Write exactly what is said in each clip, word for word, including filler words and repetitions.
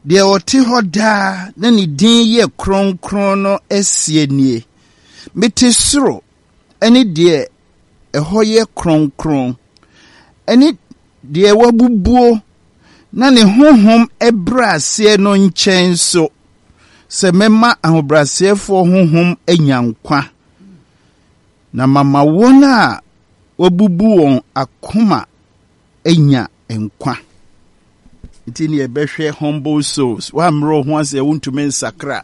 Deɛ ɔte hɔ daa na ne din yɛ kronkron no asie nie: Mete soro ne deɛ ɛhɔ yɛ kronkron, ne deɛ wabubuo na ne honhom brɛ aseɛ no nkyɛn so, sɛ mɛma ahobrɛaseɛfoɔ honhom anya nkwa, na mama wɔn a wabubu wɔn akoma anya nkwa. Nti ne yɛbɛhwɛ humble souls. Woammerɛ wo ho ase a, wontumi nsakra.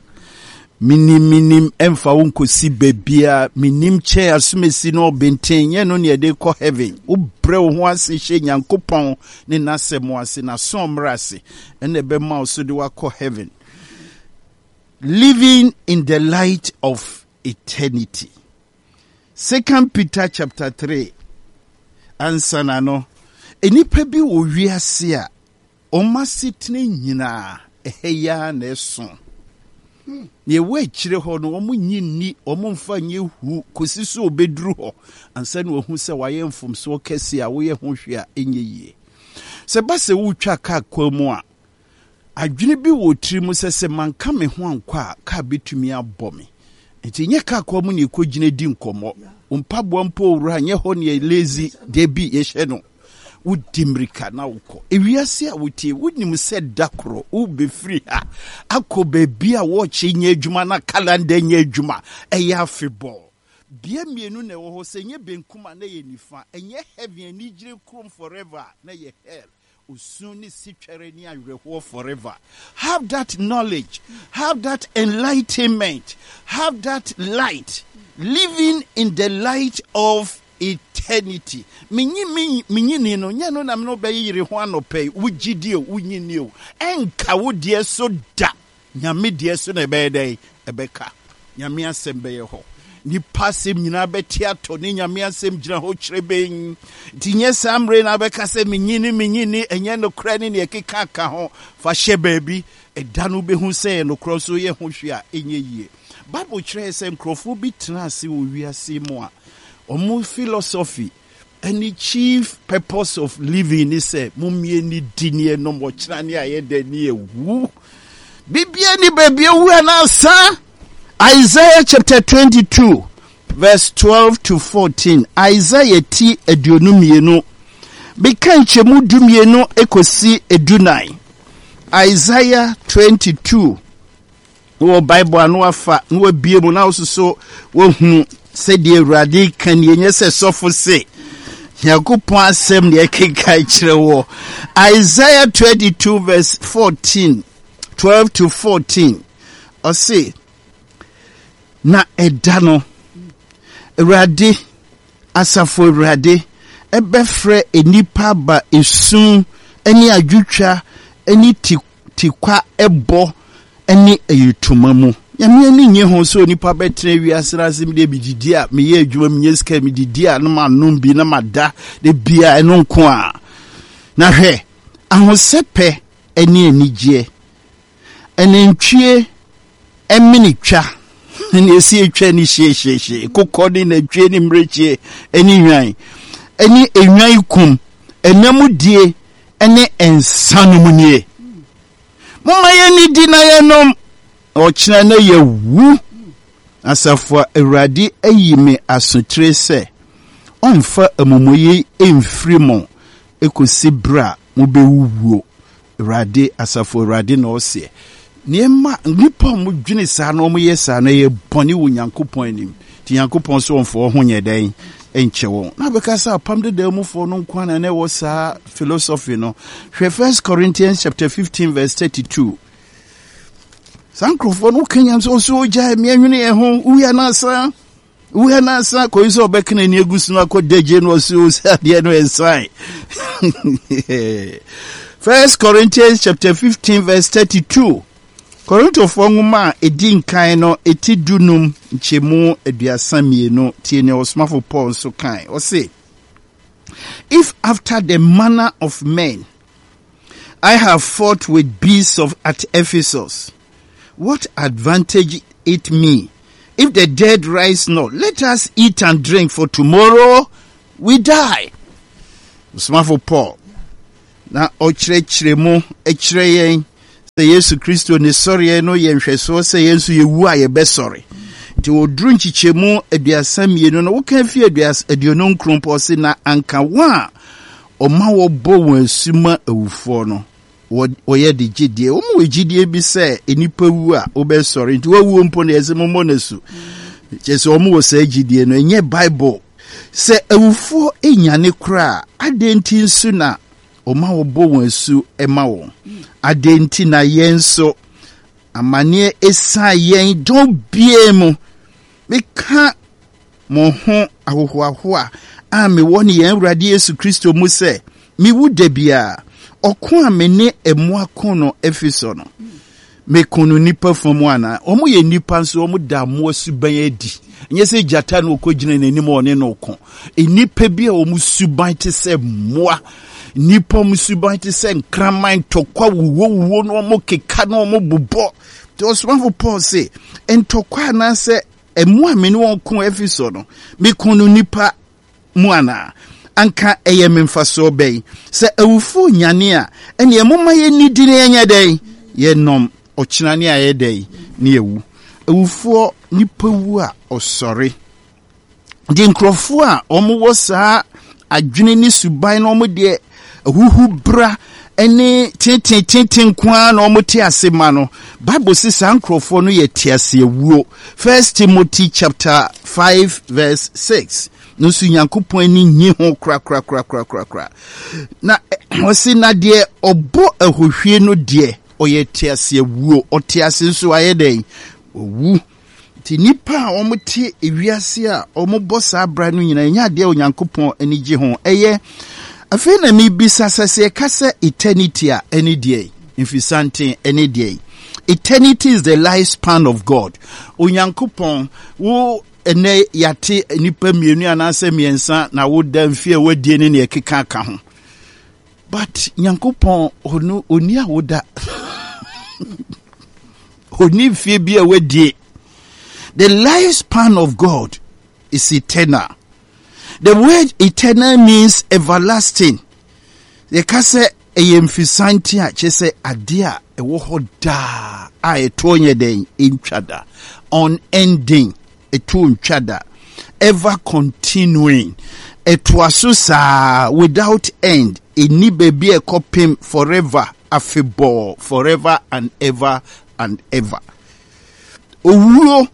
Menim, menim ɛmfa wo nkɔsi baabia. Menim kyɛn asomasi no ɔbɛnten nyɛ no ne yɛde kɔ heaven. Wobrɛ wo ho ase hyɛ Nyankopɔn ne n'asɛm ase, n'aso mmerɛ ase, ɛna ɛbɛma wo so de woakɔ heaven. Living in the light of eternity. Second Peter chapter three. Ansa na no, nnipa bi wɔ wiase a wɔn asetena nyinaa ɛhɛ yi ara na ɛso. Nea ɛwɔ akyire hɔ no, wɔn nyi nni, wɔn mfa nyɛ hu kɔsi so obɛduru hɔ ansa na wɔahu sɛ wɔayɛ mfomsoɔ kɛse a woyɛ ho hwee a ɛnyɛ yie. Sɛ ba sɛ wotwa kaa kwan mu a, adwene bi wɔ tiri mu sɛ sɛ manka me ho ankɔ a, kaa bɛtumi abɔ me. Nti nyɛ kaa kwan mu ne ɛkɔgyina di nkɔmmɔ. Mpaboa mpo owura nyɛ hɔ ne lazy da bi yɛhyɛ no. Wodi mmirika na wokɔ ewiase a wotie. Wonim sɛ da korɔ wobɛfiri ha akɔ baabi a wɔɔkye nyɛ adwuma na calendar nyɛ adwuma, ɛyɛ afebɔɔ. Bea mmienu na ɛwɔ hɔ: sɛ nyɛ benkum a na yɛ nifa. Ɛnyɛ heaven anigyere kurom forever na yɛ hell, osu ne sitwɛre ne awerɛhoɔ forever. Have that knowledge, have that enlightenment, have that light, living in the light of eternity. Menyi menyini no nyɛ no na me no bɛyere ho anɔpɛ yi. Wogye die o, wonyini o, ɛnka wo deɛ so da. Nyame deɛ so na ɛbɛyɛ dɛn? Ɛbɛka. Nyame asɛm bɛyɛ hɔ, nipa asɛm nyinaa bɛte atɔ ne Nyame asɛm gyina hɔ kyerɛ bɛn. Nti nyɛ saa mmerɛ na bɛka sɛ menyini menyini, ɛnyɛ nokorɛ ne neɛ ɛkeka ka ho. Fa hyɛ baabi, ɛda no wobɛhu sɛ ɛyɛ nokorɛ so yɛ ho hwee a ɛnyɛ yie. Bible kyerɛ sɛ nkurɔfoɔ bi tena ase wɔ wiase mu a ɔmo philosophy ɛne chief purpose of living ni sɛ mommie ne di ne ɛnom, ɔkyena ne ayɛ dɛ ne ɛwu. Bibia ni baabi ewu anaasa. Isaiah chapter twenty-two verse twelve to fourteen. Isaiah ti aduonu mmienu beka nkyɛmu du mmienu ekosi edunan. Isaiah twenty-two, wɔ Bible ano afa na wabie mu na wososo wahunu sɛdeɛ Awurade ka nie. Nyɛ sɛ sɔfo se, Nyankopɔn asɛm ne ɛkeka kyerɛ wɔ. Isaiah twenty-two verse fourteen, twelve to fourteen, ɔse, "Na ɛda no, Awurade, asafo Awurade ɛbɛfrɛ nnipa aba esum ne adwotwa ne tikwa ɛbɔ ne ayitoma mu." Nyame ani nye ho sɛ onipa bɛtena wiase no ase mede medidi a, meyɛ adwuma, menyɛ sika, medidi a na manom bi na mada de bia, ɛno nko a. Na hwɛ, ahosɛpɛ ne anigyeɛ, ɛnantwie ɛmene twa ne esi atwa ne hyehyehye, kokɔ ne nantwie ne mmirekyie ne nwan ɛne enwan kum, ɛnam die ne nsa nom nie. Momma yɛn di na yɛnom, ɔkyena na yɛwu. Asafo a Awurade ayi me asotire sɛ ɔmfa amumuyɛ mfiri mo ekosi berɛ a mobɛwuwuo. Awurade, asafo Awurade na ɔseɛ. Nneɛma nnipa a wɔdwene saa na wɔyɛ saa na ɛyɛ bɔne wɔ Nyankopɔn anim. Nti Nyankopɔn so ɔmfa wɔn ho nyɛ dɛn nkyɛ wɔn. Na bɛka sɛ Apam Deda mufoɔ no nko na na ɛwɔ saa philosophy no. Hwɛ First Corinthians chapter fifteen verse thirty-two. Saa nkurɔfoɔ no woka nyam sɛ ɔso ogyae mmeɛnwene yɛn ho wia no asa, wia no asa kɔyi sɛ ɔbɛka n'ani agu so no akɔ dagye no, ɔso sɛ adeɛ no ɛnsan. First Corinthians chapter fifteen verse thirty-two. Korintofoɔ nwoma a ɛdi nkan no ɛti dunum nkyɛmu aduasa mmienu. Tie nea ɔsomafo Paul nso kan. Ɔse, "If after the manner of men I have fought with beasts of at Ephesus, what advantage it me? If the dead rise not, let us eat and drink, for tomorrow we die." Ɔsomafo Paul na ɔkyerɛkyerɛ mu kyerɛ yɛn. Sɛ Yesu Kristo ne sɔreɛ no yɛ nhwɛsoɔ sɛ yɛn nso yɛwu a yɛbɛsɔre. Nti wɔduru nkyekyɛmu aduasa mmienu no, woka fi aduonu nkron pɔ se na anka wɔn a ɔma wɔbɔ wɔn asu ma awufoɔ no, wɔyɛ de gyidie. Wɔn wɔ gyidie bi sɛ nnipa wu a wobɛsɔre, nti wɔawuo mpo no yɛsɛ mommɔ no asu. Kyerɛ sɛ wɔn wɔ saa gyidie no, ɛnyɛ Bible. Sɛ awufoɔ nyane koraa, adɛn nti nso na ɔma wɔbɔ wɔn asu ma wɔn? Adɛn nti na yɛn nso amanneɛ esiane yɛn dɔn bie mu? Meka mo ho ahohoahoa a mewɔ ne yɛn Awurade Yesu Kristo mu sɛ mewu da biara. Ɔko a me ne mmoa ko no Efeso no, meko no nnipa fa mu anaa? Wɔn yɛ nnipa nso, wɔn da mmoa suban adi. Nyɛ sɛ gyata na ɔkɔgyina n'anim a ɔne no ko. Nnipa bi a wɔn suban te sɛ mmoa, nnipa wɔn suban te sɛ nkraman, ntɔkwa wuwowuwo na wɔn keka na wɔn bobɔ. Nti ɔsomafo Paul se, ntɔkwa anaasɛ mmoa a me ne wɔn ko Efeso no, meko no nnipa mu anaa? Anka ɛyɛ me mfasoɔ bɛn? Sɛ awufoɔ nyane a, ɛneɛ momma yɛnnidi na yɛnyɛ dɛn? Yɛnom. Ɔkyena ne ayɛ dɛn? Ne yɛwu. Awufoɔ, nipa wu a ɔsɔre. Nti nkurɔfoɔ a wɔwɔ saa adwene ne suban na wɔn deɛ ahuhu bra ne tentenetenten nko ara na wɔte ase ma no, Bible se saa nkurɔfoɔ no yɛ teaseawuo. First Timothy chapter five verse six. No nso Nyankopɔn ani nyi ho korakorakorakorakora. Na ɔse na deɛ ɔbɔ ahohwie no deɛ ɔyɛ teaseawuo, ɔte ase nso ayɛ dɛn? Owu. Nti nnipa a wɔte ewiase a wɔbɔ saa bra no nyinaa ɛnyɛ adeɛ a Onyankopɔn ani gye ho. Ɛyɛ afei na mebisa sɛ sɛ yɛka sɛ eternity a ɛne deɛ mfisanten ɛne deɛ. Eternity is the lifespan of God. Onyankopɔn wo ɛnɛ yɛate nnipa mmienu anaasɛ mmiɛnsa na woda mfie a wadie ne nea ɛkeka ka ho. But Nyankopɔn ɔno ɔni a woda. Ɔni mfie bi a wadie. The lifespan of God is eternal. The word eternal means everlasting. Yɛka sɛ ɛyɛ mfisante a kyerɛ sɛ adeɛ a ɛwɔ hɔ daa a ɛtoɔ nyɛ dɛn ɛntwa da. Unending, ɛtoɔ ntwa da. Ever continuing, ɛtoa so saa without end. Ɛnni baabi a ɛkɔpem forever, afebɔɔ, forever and ever and ever. Owuo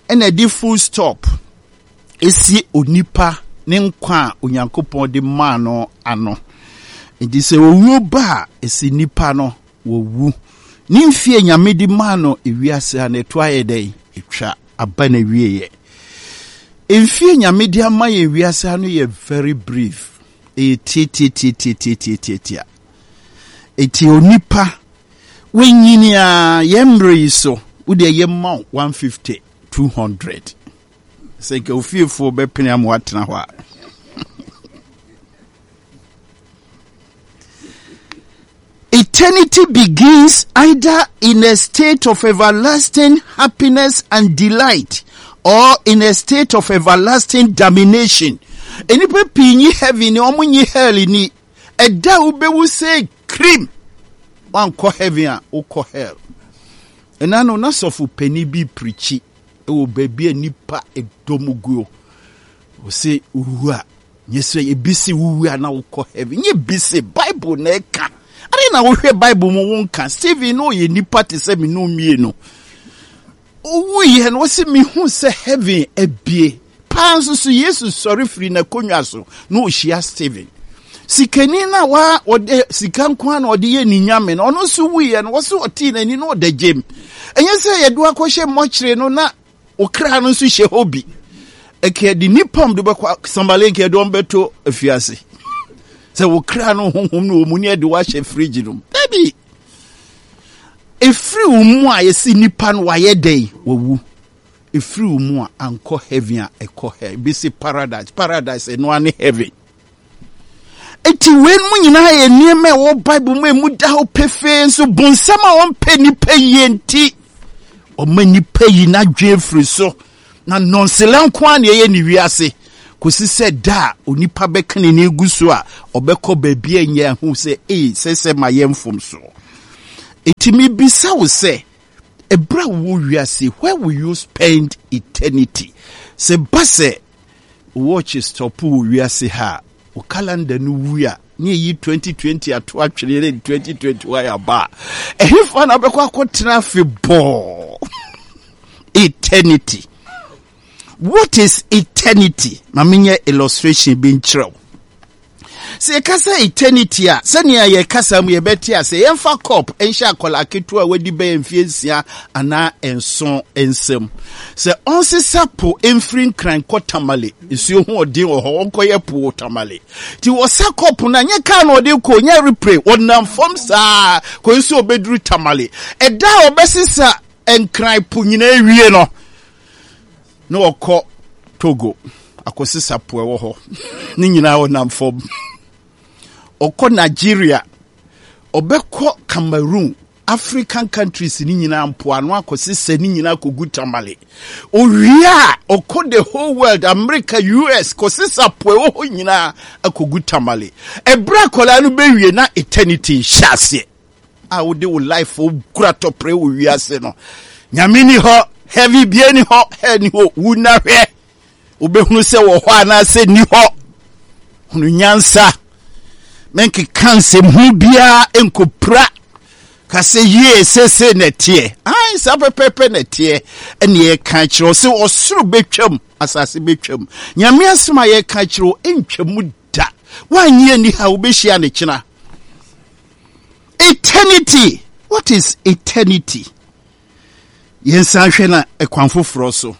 ɛna ɛde full stop esi onipa ne nkwa a Onyankopɔn de maa no ano. Nti sɛ owuo ba a, esi nipa no wɔwu. Ne mfie Nyame de maa no ewiase a na ɛto ayɛ dɛn? Etwa aba na wieɛ. Mfie Nyame de ama yɛn wiase ano yɛ very brief. Ɛyɛ tiatiatiatiatiatiatia. Eti onipa wenyini a yɛn mmerɛ yi so wode ɛyɛ ma wo one fifty, two hundred. Sɛ nka ofiefoɔ bɛpene ama watena hɔ a. Eternity begins either in a state of everlasting happiness and delight or in a state of everlasting damnation. Nnipa pii nyi heaven ni, wɔn nyi hell ni. Ɛda a wobɛwu sɛ cream, wankɔ heaven a, wokɔ hell. Ɛna no, na sɔfo panin bi pirikyi wɔ baabi a nnipa dɔm guo. Ɔse wowu a, nyɛ sɛ ebi se wowu a na wokɔ heaven. Nyɛ bi se Bible na ɛka. Ade na wohwɛ Bible mu wonka. Stephen no ɔyɛ nipa te sɛ me no mmienu. Owuiɛ no, ɔse mehu sɛ heaven abie. Paa nso so Yesu sɔre firi n'akonnwa so na ɔhyia Stephen. Sikani no a wa ɔde sika nko ara na ɔde yɛ ne nyame no, ɔno nso wuiɛ no, wɔse ɔtee n'ani na ɔda gyam. Ɛnyɛ sɛ yɛde akɔhyɛ mmɔkyere no na okra no nso hyɛ hɔ bi. Ɛkɛ de nipa de bɛkɔ sambale nkɛ de wɔn bɛto afiase. Sɛ okra no honhom no wɔ mu ne yɛde wahyɛ fridge no mu. Dabi. Efiri wo mu a yɛsi nipa no wayɛ dɛn wawu. Efiri wo mu a ankɔ heaven a ɛkɔ hell. Ebi si paradise. Paradise ɛno ane heaven. Eti wei mu nyinaa yɛ nneɛma a ɛwɔ Bible mu emu da hɔ pefee nso bonsam a ɔmpɛ nipa yie nti ɔma nipa yi n'adwene firi so na nɔnsela nko ara na ɛyɛ ne wiase kɔsi sɛ da a onipa bɛka n'ani gu so a ɔbɛkɔ baabi a nyɛ ho sɛ ee sɛ sɛ ma yɛ mfomso. Enti mebisa wo sɛ, ɛberɛ a wowɔ wiase, where will you spend eternity? Sɛ ba sɛ watch stop wɔ wiase ha a, wo calendar no wu a, ne ɛyi twenty twenty ato atwene ne twenty twenty-one aba a, ɛhefa na wobɛkɔ akɔtena afebɔɔ? Eternity. What is eternity? Ma menyɛ illustration bi nkyerɛ wo. Sɛ yɛka sɛ eternity a, sɛnea yɛkasa mu yɛbɛte ase, yɛmfa cup nhyɛ akwadaa ketewa a wadi bɛyɛ mfeɛ nsia anaa nson nsam. Sɛ ɔnsesa po mfiri Nkran kɔ Tamale, nsuo ho ɔden wɔ hɔ, ɔnkɔyɛ po wɔ Tamale. Nti wɔsa cup no a, nyɛ kaa na ɔde kɔ, nyɛ aeroplane, ɔnam fam saa kɔ nso ɔbɛduru Tamale. Ɛda a ɔbɛsesa Nkran po nyinaa wie no, na ɔkɔ Togo akɔsesa po ɛwɔ hɔ ne nyinaa ɔnam fam. Ɔkɔ Nigeria, ɔbɛkɔ Cameroon, African countries ne nyinaa mpoano akɔsesa ne nyinaa akɔgu Tamale. Owie a, ɔkɔ the whole world, America, U S, kɔsesa po ɛwɔ hɔ nyinaa akɔgu Tamale. Ɛberɛ akwadaa no bɛwie na eternity nhyɛ aseɛ. A wode wo life kura tɔprɛ wɔ wiase no. Nyame ni hɔ, heavy bie ni hɔ, hell ni hɔ, wu na hwɛ. Wobɛhunu sɛ wɔ hɔ anaasɛ ni hɔ. Hunu nyansa. Menkeka nsɛm ho biara nkɔpira. Ka sɛ yie sese na ɛteɛ. Ai, saa pɛpɛɛpɛ na ɛteɛ. Ɛne yɛka kyerɛ wo sɛ ɔsoro bɛtwam, asase bɛtwam. Nyame asɛm a yɛka kyerɛ wo ɛntwam da. Woanyɛ ni ha, wobɛhyia ne kyena. Eternity. What is eternity? Yɛnsan hwɛ na ɛkwan foforɔ so.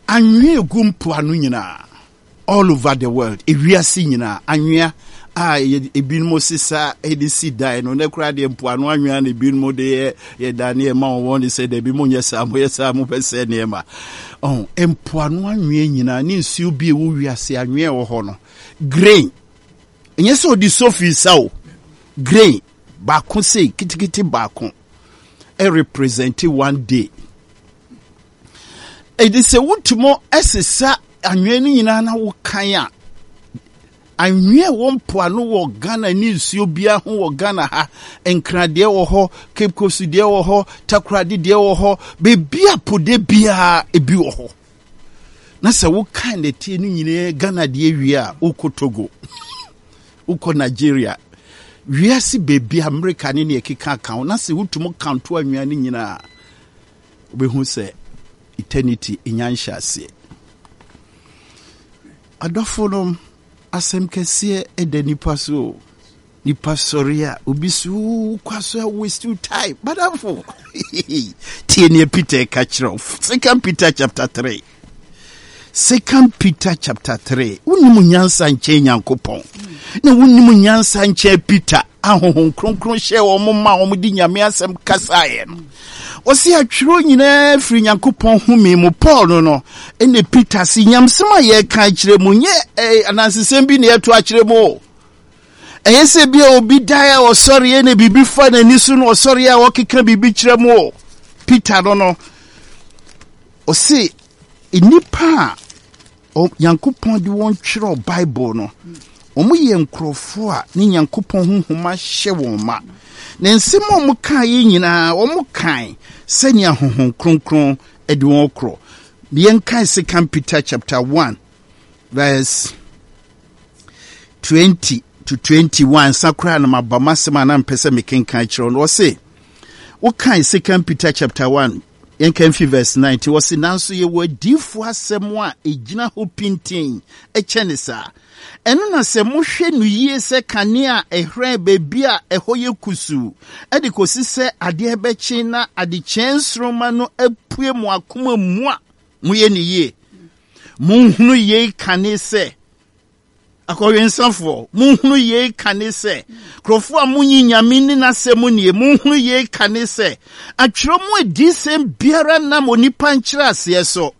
Anwea egu mpoano nyinaa, all over the world, ewiase nyinaa, anwea a ebinom sesa de si dan no, na koraa deɛ mpoano anwea na ebinom de yɛ yɛ dan ne ɛma wɔn de sɛ dɛbi mo nyɛ saa, mo yɛ saa, mo bɛ sɛ nneɛma. Ɔn, mpoano anwea nyinaa ne nsuo bi ɛwɔ wiase anwea ɛwɔ hɔ no, grain. Ɛnyɛ sɛ ɔde sofi sa o, grain baako sei kitikiti baako ɛrepresent one day. Ɛde sɛ wotumi ɛsesa anwea no nyinaa na wokan a, anwea wɔ mpoano wɔ Ghana ne nsuo biara ho wɔ Ghana ha, Nkradeɛ wɔ hɔ, Cape Coast deɛ wɔ hɔ, Takoradi deɛ wɔ hɔ, beebi a po de biara ebi wɔ hɔ. Na sɛ wokan nɛteɛ no nyinaa Ghana deɛ wie a, wokɔ Togo, wokɔ Nigeria, wiase beebi Amerika ne nea ɛkeka ka ho, na sɛ wotumi kanto anwea no nyinaa, wobɛhu sɛ eternity nya nhyɛ aseɛ. Adɔfo no, asɛm kɛseɛ ɛda nipa so o. Nipa sɔre a, obi so wokɔ so a waste your time. Badamfo, tie nea Peter ka kyerɛ wo. Second Peter chapter three. Second Peter chapter three. Wonim nyansa nkyɛn Nyankopɔn. Na wonim nyansa nkyɛn Peter. Ahohom kronkron hyɛ wɔn ma wɔn de Nyame asɛm kasaeɛ no. Ɔsi atwerɛ nyinaa firi Nyankopɔn home mu. Paul no no, ɛna Peter si nyamsɛm a yɛka kyerɛ mu nyɛ, eh, anansesɛm bi na yɛto akyerɛ mu o. Ɛyɛ sɛ bi a obi dae a ɔsɔreɛ na biribi fa n'ani so na ɔsɔreɛ a ɔkeka biribi kyerɛ mu o. Peter no no, ɔse nnipa a Nyankopɔn de wɔn twerɛ Bible no, wɔn yɛ nkurɔfoɔ a ne Nyankopɔn honhom ahyɛ wɔn ma. Na nsɛm a wɔn kaeɛ nyinaa, wɔn kae sɛnea Honhom Kronkron de wɔn korɔ. Yɛnkae Second Peter chapter one verse twenty to twenty-one. Nsa koraa na maba m'asɛm a na mpɛ sɛ mekenkan kyerɛ no. Ɔse, wokae Second Peter chapter one, yɛnka mfi verse nineteen. Ɔse, nanso yɛwɔ adiyifoɔ asɛm a ɛgyina hɔ pintinn ɛkyɛ ne saa. Ɛno na sɛ mohwɛ no yie sɛ kanea a ɛhran baabi a ɛhɔ yɛ kusuu, ɛde kɔsi sɛ adeɛ bɛkye na adekyee nsoromma no apue mo akoma mu a, moyɛ no yie. Monhunu yei kane sɛ, akɔwensafoɔ, monhunu yei kane sɛ, nkurɔfoɔ a monyi Nyame ne n'asɛm nie, monhunu yei kane sɛ, atwerɛ mu adiyisɛm biara nam onipa nkyerɛaseɛ so,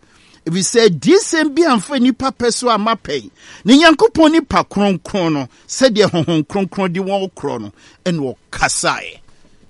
ɛfiri sɛ adiyisɛm bi amfa nnipa pɛ so amma pɛn, na Nyankopɔn nipa kronkron no, sɛdeɛ Honhom Kronkron de wɔn korɔ no, ɛna ɔkasaeɛ.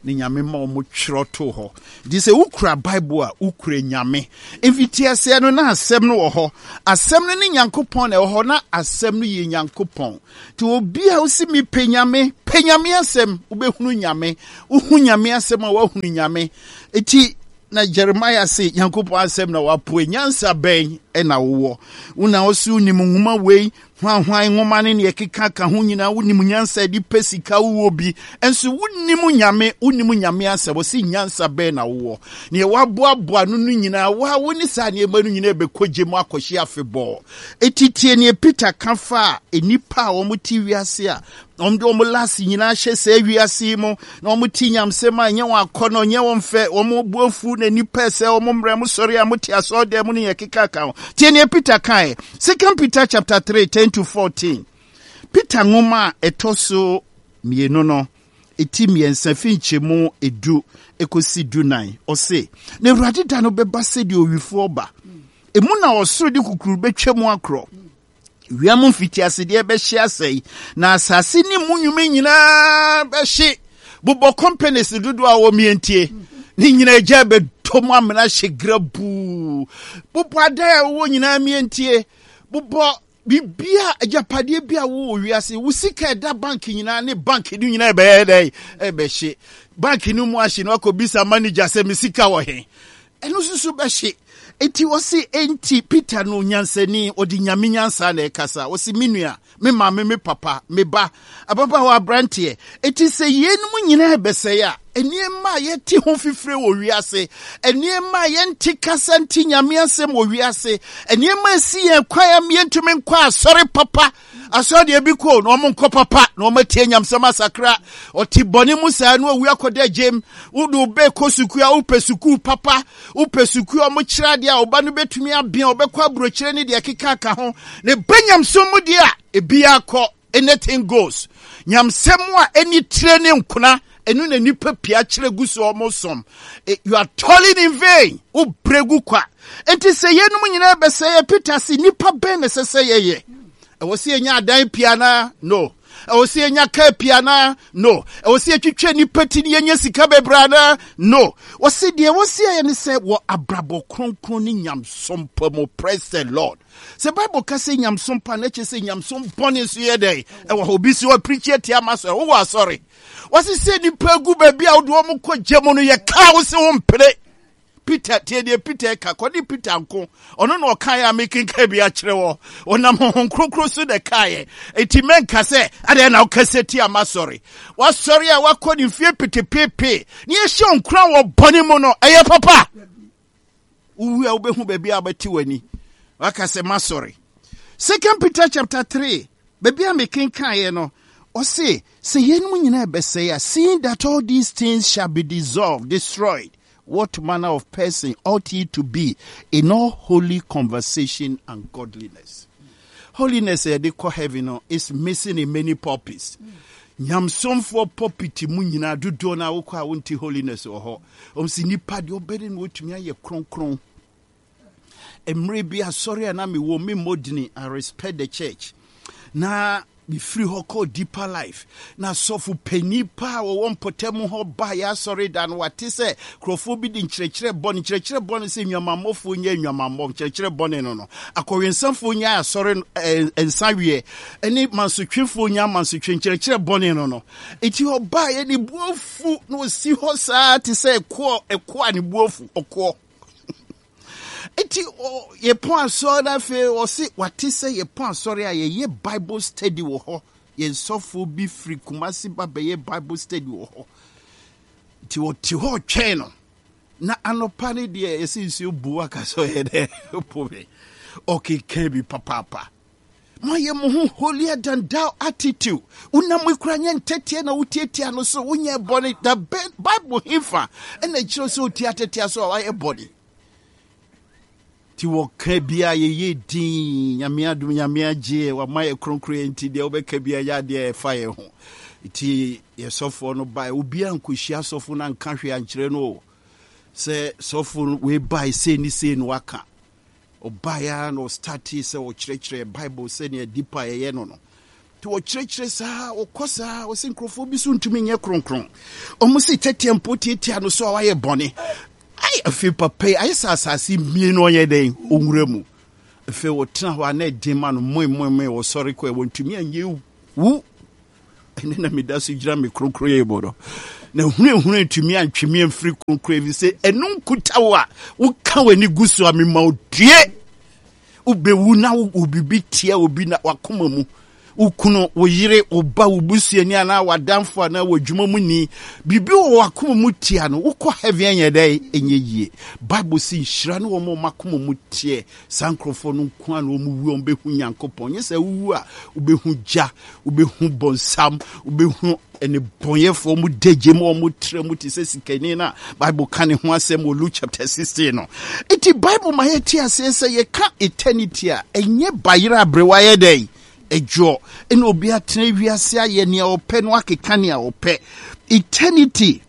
Ne Nyame ma ɔmo twerɛ too hɔ. Nti sɛ wokura Bible a, wokura Nyame. Mfitiaseɛ no, na asɛm no wɔ hɔ. Asɛm no ne Nyankopɔn na ɛwɔ hɔ, na asɛm no yɛ Nyankopɔn. Nti obi a wosi mi pɛ Nyame, pɛ Nyame asɛm, wobɛhunu Nyame. Wohu Nyame asɛm a, woahunu Nyame. Nti na Jeremiah se Nyankopɔn asɛm na wapoe. Nyansa bɛn ɛna wowɔ? Wo na wo so wonim nwoma wei, hwanhwan nwoma ne neɛ ɛkeka ka ho nyinaa, wonim nyansa de pɛ sika, wowɔ bi. Ɛnso wonim Nyame, wonim Nyame asɛm. Wɔse nyansa bɛn na wowɔ? Neɛ waboaboa no no nyinaa, wa wo ne saa nneɛma no nyinaa bɛkɔ gye mu akɔhye afebɔɔ. Eti tie neɛ Peter ka fa a nnipa a wɔn te wiase a wɔn de wɔn last nyinaa hyɛ saa wiase yi mu na wɔn te nyamsɛm a ɛnyɛ wɔn akɔnɔ, ɛnyɛ wɔn fɛ, wɔn bu afu na nnipa sɛ wɔn mmerɛ mo sɔre a mo te asɔredan mu ne yɛ keka ka ho. Tie neɛ Peter kaeɛ. Second Peter chapter three, ten to fourteen. Peter nwoma a ɛtɔ so mmienu no, eti mmiɛnsa fi nkyɛmu edu ekosi dunan. Ɔse, na Awurade da no bɛba sɛdeɛ owifoɔ ba. Emu na ɔsoro de kukuru bɛtwa mu akorɔ. Wiem mfitiasedeɛ bɛhye asɛe, na asase ne mu nnwuma nyinaa bɛhye. Bobɔ companies dodoɔ a wɔmmiɛntie ne nyinaa gya bɛtɔ mu amena hye grabuu. Bobɔ adan a wɔwɔ nyinaa mmiɛntie. Bobɔ bibia, agyapadeɛ bi a wowɔ wiase, wo sika ɛda bank nyinaa ne bank no nyinaa ɛbɛyɛ dɛ ɛbɛhye. Bank no mu ahye no, akɔbisa manager sɛ me sika wɔ he? Ɛno nso so bɛhye. Enti ɔse, enti Peter no nyansani, ɔde Nyame nyansa na ɛkasa. Ɔse, me nua, me maame, me papa, me ba, ababaawa, aberanteɛ, enti sɛ yeinom nyinaa bɛsɛe a, nneɛma a yɛte ho fifire wɔ wiase, nneɛma a yɛnte kasa nte Nyame asɛm wɔ wiase, nneɛma a ɛsi yɛn kwan a yɛntumi nkɔ asɔre papa. Asɔre deɛ bi kɔ na wɔn nkɔ papa na wɔn atie nyamsɛm asakra. Ɔte bɔne mu saa na owu akɔda gyem. Wode wo bɛ kɔ sukuu a, wopɛ sukuu papa, wopɛ sukuu a wɔn kyerɛ adeɛ a ɔba no bɛtumi abea, ɔbɛkɔ aburokyerɛ ne deɛ ɛkeka ka ho. Ne ba nyamsɛm mu deɛ a, ebi akɔ, anything goes. Nyamsɛm a ɛni tire ne nkona, ɛno na nipa pia kyerɛ gu so ɔmo som. You are toiling in vain. Wo brɛ gu kwa. Enti sɛ yɛnum nyinaa bɛsɛ yɛ, Peter se nipa bɛn na ɛsɛ sɛ yɛyɛ? Ɛwɔ sɛ yɛnya adan pii anaa? No. Ɛwɔ sɛ yɛnya kaa pii anaa? No. Ɛwɔ sɛ yɛtwitwa nipa ti ne yɛnya sika bebree anaa? No. Wɔsi deɛ wɔsi yɛ ne sɛ wɔ abrabɔ kronkron ne nyamsom pa mu. Praise the Lord. Sɛ Bible ka sɛ nyamsom pa na kyerɛ sɛ nyamsom bɔne nso yɛ dɛn? Ɛwɔ hɔ. Obi si hɔ pirikyi atia ma asɔre. Wowɔ asɔre. Wɔsi sɛ nipa gu baabi a wode wɔn kɔ gya mu no, yɛ kaa wo sɛ wompere. Peter, tie deɛ Peter ka, kɔde Peter nko. Ɔno na ɔkaeɛ a mekenka bi akyerɛ wɔ. Ɔnam Honhom Kronkron so na ɛkaeɛ. Enti mɛnka sɛ, adɛn na wokasa tia m'asɔre? W'asɔre a wakɔ ne mfie petepepe ne yɛhyɛ nkuran wɔ bɔne mu no, ɛyɛ papa? Wowu a wobɛhu baabi a wobɛte w'ani. Waka sɛ m'asɔre. Second Peter chapter three, baabi a mekenkaeɛ no, ɔse, sɛ yeinom nyinaa bɛsɛe a, seeing that all these things shall be dissolved, destroyed, what manner of person ought ye to be in all holy conversation and godliness? Holiness yɛde kɔ heaven no is missing in many pulpits. Nyamsomfoɔ pulpit mu nyinaa dodoɔ no a wokɔ a wonte holiness wɔ hɔ. Ɔm sɛ nipa deɛ ɔbɛde no wɔtumi ayɛ kronkron. Mmerɛ bi asɔre a na mewɔ me mmɔdini, I respect the church. Na mefiri hɔ kɔɔ Deeper Life, na asɔfo panyin pa a wɔwɔ mpɔtam hɔ ba yɛ asɔre da no, wate sɛ nkurɔfoɔ bi de nkyerɛkyerɛ bɔne, nkyerɛkyerɛ bɔne sɛ nnwamammɔfoɔ nyɛ nnwamammɔ, nkyerɛkyerɛ bɔne no no, akɔwensafoɔ nyɛ asɔre nsa weɛ, ne mansotwefoɔ nyɛ amansotwe, nkyerɛkyerɛ bɔne no no. Enti ɔbaeɛ ne bu afu na ɔsi hɔ saa te sɛ ɛkoɔ, ɛkoɔ a ne bu afu, ɔkoɔ. Enti yɛpɔn asɔre no afei ɔse wate sɛ yɛpɔn asɔre a yɛyɛ Bible study wɔ hɔ. Yɛn sɔfoɔ bi firi Kumasi ba bɛyɛ Bible study wɔ hɔ. Nti ɔte hɔ ɔtwɛn no. Na anɔpa no deɛ yɛsɛ nsuo bu aka sɛ ɔyɛ dɛ po me. Ɔkeka bi papaapa. Moayɛ mo ho holier than thou attitude. Wonam ekura nyɛ ntɛteɛ na wotietia no so, wonyɛ bɔne. Da Bible hefa ɛna ɛkyerɛ sɛ otia tɛtea so a wayɛ bɔne? Nti wɔka bia yɛyɛ din, Nyame adom, Nyame agye, wama yɛ kronkron yɛ, nti deɛ wobɛka bia yɛ adeɛ ɛfa yɛ ho. Nti yɛsɔfoɔ no bae, obiara nkɔhyia sɔfo no anka hwee ankyerɛ no o. Sɛ sɔfo wei bae sei ne sei no waka. Ɔbaeɛ ara na ɔstartee sɛ ɔkyerɛkyerɛ Bible sɛnea dipa yɛyɛ no no. Nti wɔkyerɛkyerɛ saa, wɔkɔ saa, wɔsɛ nkurɔfoɔ bi so ntumi nyɛ kronkron. Ɔmo se tɛteɛ mpo tiatia no so a wayɛ bɔne. Ai, afei papa yi ayɛ sɛ asase mmienu ɔnyɛ dɛn ɔnwura mu. Afei wɔtena hɔ a na ɛden ma no moemoemoe, wɔsɔre kɔ ɛ, wɔntumi anyɛ wu. Ɛne na meda so gyina me kronkron mu no, na hunahuna ntumi antwe me amfiri kronkron, ɛfiri sɛ ɛno nkuta wo a woka w'ani gu so a mema wo due. Wobɛwu na wo biribi tia obi na wakoma mu, wo kunu, wo yere, wo ba, wo busuani anaa w'adamfo anaa w'adwuma mu ni, biribi wɔ w'akoma mu tia no, wokɔ heaven ɛnyɛ dɛn ɛnyɛ yie. Bible si nhyira ne wɔn a wɔn akoma mu teɛ. Saa nkurɔfoɔ no nko a na wɔn wu a wɔbɛhu Nyankopɔn. Nyɛ sɛ wowu a wobɛhu gya, wobɛhu bɔnsam, wobɛhu ɛne bɔnyɛfoɔ mu dagye mu, wɔn trɛ mu te sɛ sikani no a Bible ka ne ho asɛm wɔ Luke chapter sixteen no. Nti Bible ma yɛte aseɛ sɛ yɛka eternity a, ɛnyɛ bayerɛ aberewa yɛ dɛn adwoɔ ɛna obi atena wiase ayɛ nea ɔpɛ no akeka nea ɔpɛ. Eternity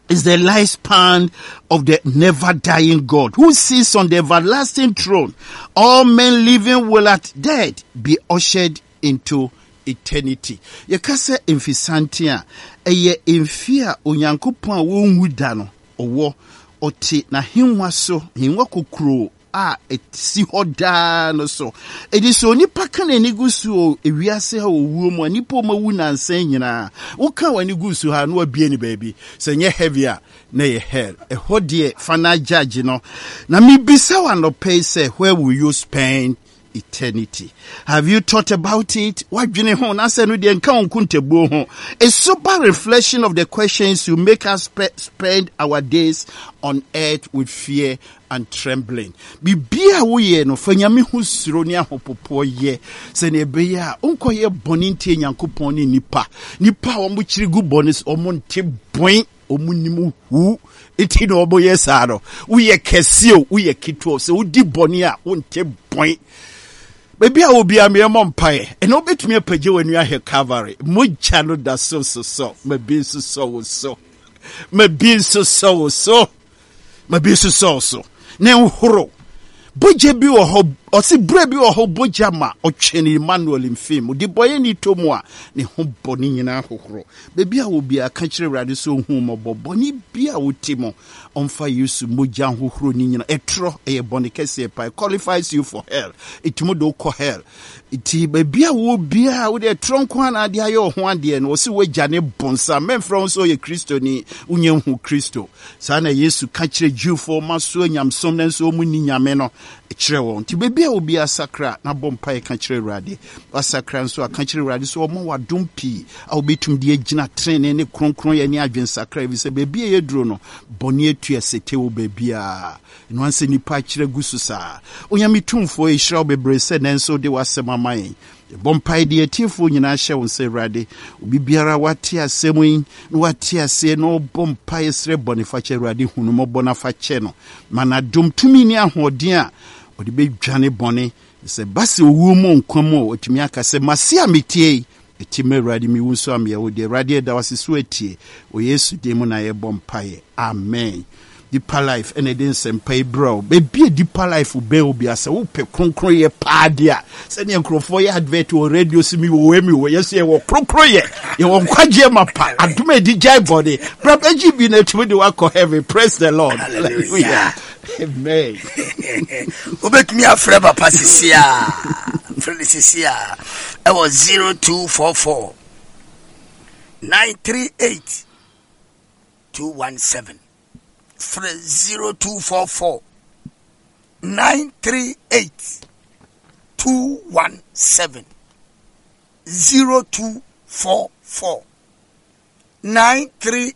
is the lifespan of the never dying God who sits on the everlasting throne. All men living will at death be ushered into eternity. Yɛka sɛ mfisante a, ɛyɛ mfe a Onyankopɔn a wɔnwu da no ɔwɔ ɔte n'ahengua so, ahengua kokuroo a ɛsi hɔ daa no so. Ɛdi sɛ onipa ka n'ani gu so wɔ ewiase ha owuo mu a, nipa a ɔmawu nansa nyinaa, woka w'ani gu so ha na wabie ne baabi. Sɛ nyɛ heaven a, na ɛyɛ hell. Ɛhɔ deɛ final judge no. Na mebisa wo anɔpa yi sɛ, where will you spend eternity? Have you thought about it? Wadwene ho na sɛ no deɛ nka wo nkontabuo ho. A sober reflection of the questions will make us spe- spend our days on earth with fear and trembling. Biribi a woyɛ no, fa Nyame ho suro ne ahopopoɔ yɛ sɛnea ɛbɛyɛ a wonkɔyɛ bɔne ntie Nyankopɔn ne nipa. Nipa a wɔn kyiri gu bɔne so, wɔn nte bɔn, wɔn nim hu. Nti na wɔn yɛ saa no. Woyɛ kɛse o, woyɛ ketewa o, sɛ wodi bɔne a wonte bɔn. Baabi a obiara mmea mmɔ mpaeɛ, ɛna wobɛtumi apagya w'ani ahwɛ Calvary. Mogya no da so sosɔ, ma bi nso sɔ wo so, ma bi nso sɔ wo so, ma bi nso sɔ wo so. Na nhoro bogya bi wɔ hɔ, ɔsi berɛ bi wɔ hɔ bogya ma ɔtwe ne Emmanuel mfim mu de bɔyɛ ne tɔ mu a ne ho bɔ ne nyinaa hohoro. Baabi a obiara ka kyerɛ Awurade sɛ ɔhu mmɔbɔ, bɔne bi a wote mu, ɔmfa Yesu mogya hohoro ne nyinaa. Ɛtorɔ ɛyɛ bɔne kɛseɛ pa, it qualifies you for hell, ɛtumi de wokɔ hell. Nti baabi a wɔ biara wode ɛtorɔ nko a na ade ayɛ wo ho adeɛ no, wɔsi woagya ne bonsam. Mɛmfrɛ wo sɛ ɔyɛ Kristoni, wonyɛ hu Kristo. Saa na Yesu ka kyerɛ Jewfoɔ ma so anyamsom na nso wɔn ni Nyame no kyerɛ wɔn. Nti baabi a obiara sakra na bɔ mpaeɛ ka kyerɛ Awurade. Wasakra nso a, ka kyerɛ Awurade sɛ ɔma wadom pii a wobɛtumi de agyina tenenee ne kronkronyɛ ne adwensakra, ɛfiri sɛ baabi a yɛduro no, bɔne atu asete wɔ baabiara. Ɛno ansɛ nnipa akyerɛ gu so saa. Onyame tumfoɔ, yɛhyira wo bebree sɛ nnɛ nso wode w'asɛm ama yɛn. Yɛbɔ mpae de atiefoɔ nyinaa hyɛ wo nsa, Awurade. Obi biara wate asɛm yi na wate aseɛ na ɔbɔ mpae srɛ bɔne fakyɛ, Awurade hu no mmɔbɔ na fa kyɛ no. Ma n'adom tumi ne ahoɔden a ɔde bɛdwane bɔne. Sɛ ba sɛ owuo mu nkwa mu a, ɔtumi aka sɛ, mase a metie yi, ɛti ma Awurade, mewu nso a meyɛ wo deɛ. Awurade, ɛda wo ase so atie. Wɔ Yesu din mu na yɛbɔ mpaeɛ. Amen. Deeper Life ɛna ɛde nsɛmpa yi brɛ wo. Baabi a Deeper Life bɛn wo bia, sɛ wopɛ kronkronyɛ paa deɛ a, sɛdeɛ nkurɔfoɔ yɛ advert wɔ radio so, mi wɔ wei, mi wɔ yɛ so, yɛwɔ kronkronyɛ, yɛwɔ nkwagyeɛ ma pa, adom a ɛdi gyae bɔne. Bra bɛgye bi na ɛtumi de wakɔ heaven. Praise the Lord. Hallelujah. Amen. Wobɛtumi afrɛ papa sisi a, frɛ no sisi a ɛwɔ zero two four four nine three eight two one seven. Frɛ zero two four four nine three eight two one seven, zero two four four nine three